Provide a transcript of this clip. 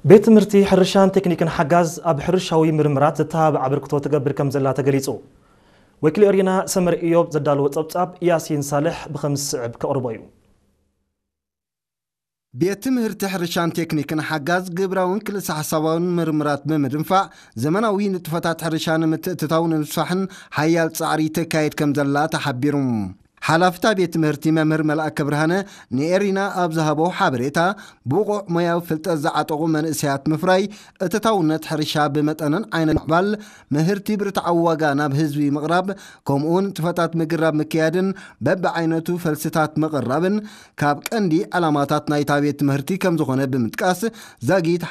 ቤት ትምህርቲ ሕርሻን ቴክኒክን ሓጋዝ ኣብ ሕርሻዊ ምርምራት ዘተባብዕ ኣበርክቶ ትገብር ከም ዘላ ተገሊጹ። ወኪል ኤሪና ሰመር ኢዮብ ዘዳለዎ ጸብጻብ ያሲን ሳልሕ ብኸም ዝስዕብ ከቕርቦ እዩ። ቤት ትምህርቲ ሕርሻን ቴክኒክን ሓጋዝ ግብራውን ክልሰ ሓሳባውን ምርምራት ብምድንፋዕ ዘመናዊ ንጥፈታት ሕርሻ ንምትእትታው ንምስፋሕን ሓያል ጻዕሪ ተካየድ ከም ዘላ ተሓቢሩ። ሓላፍታ ቤት ትምህርቲ መምህር መልኣከ ብርሃነ ንኤሪና ኣብ ዝሃቦ ሓበሬታ፣ ብቑዕ ሞያዊ ፍልጠት ዝዓጠቑ መንእሰያት ምፍራይ፣ እተታውነት ሕርሻ ብመጠንን ዓይነት ምዕባል፣ ምህርቲ ብርትዓዊ ዋጋ ናብ ህዝቢ ምቕራብ፣ ከምኡውን ንጥፈታት ምግራብ ምክያድን በብዓይነቱ ፈልስታት ምቕራብን ካብ ቀንዲ ዕላማታት ናይታ ቤት ትምህርቲ ከም ዝኾነ ብምጥቃስ፣ ዛጊት